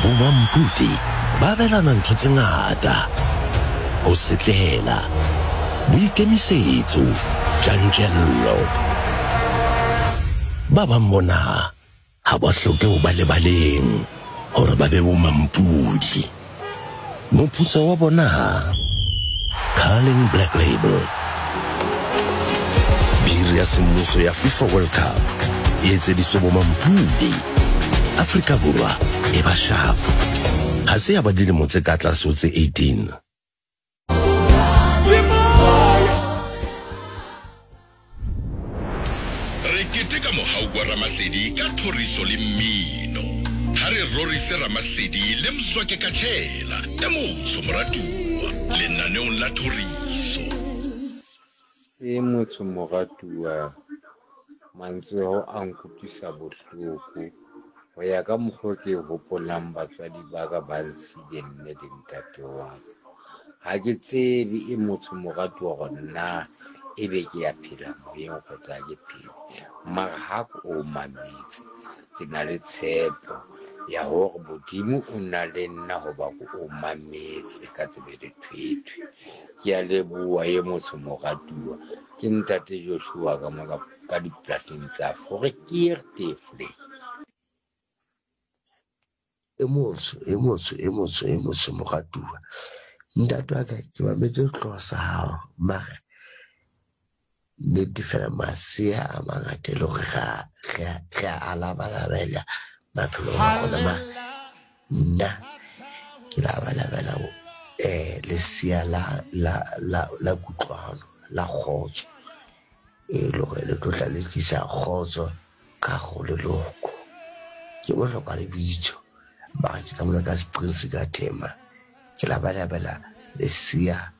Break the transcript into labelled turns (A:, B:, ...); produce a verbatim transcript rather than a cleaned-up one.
A: Bomampudi ba abelana ntho tse ngata, ho setlela, boikemisetso, tjantjello. Ba bang bona ha ba hloke ho ba lebaleng hore ba be bomampudi. Moputso wa bona? Carling Black Label. Biri ya semmuso ya FIFA World Cup e etseditswe bomampudi. Afrika Borwa e ba sharp. Ha se ya ba dilemo tse ka tlase ho tse eighteen.
B: Re keteka mohau wa Ramasedi ka thoriso le mmino. Ha re rorise Ramasedi le Mzwake Katshela, e motsho moratuwa, lenaneong la thoriso.
C: E motsho moratuwa, mantswe ao a nkutlwisa bohloko ho ya ka mokgwa ke hopolang batswadi ba ka ba nsile mme le ntate wa ka. Ha ke tsebe e motsho moratuwa hore na ebe ke ya phela moyeng kgotsa ha ke phele. Mara ha ke o mametse, ke na le tshepo ya hore Modimo o na le nna hoba ke o mametse ka tsebe le thwethwe. Ke a leboha e motsho moratuwa. Ke ntate Joshua ka mo ka dipolasing tsa Forekeertevlei.
D: E motsho, e motsho, e motsho, e motsho moratuwa. Ntate wa ka ke mametse sehlooho sa hao mare nnete fela masea a mangata e le hore re a re a labalabela maphelong a rona, mara nna ke labalabela eh lesea la la la la kutlwano la kgotso, e le hore le tlo tla le tlisa kgotso ka hare ho leloko. Ke bohlokwa lebitso mara ke ka mona ka Springs ka Thema, ke labalabela lesea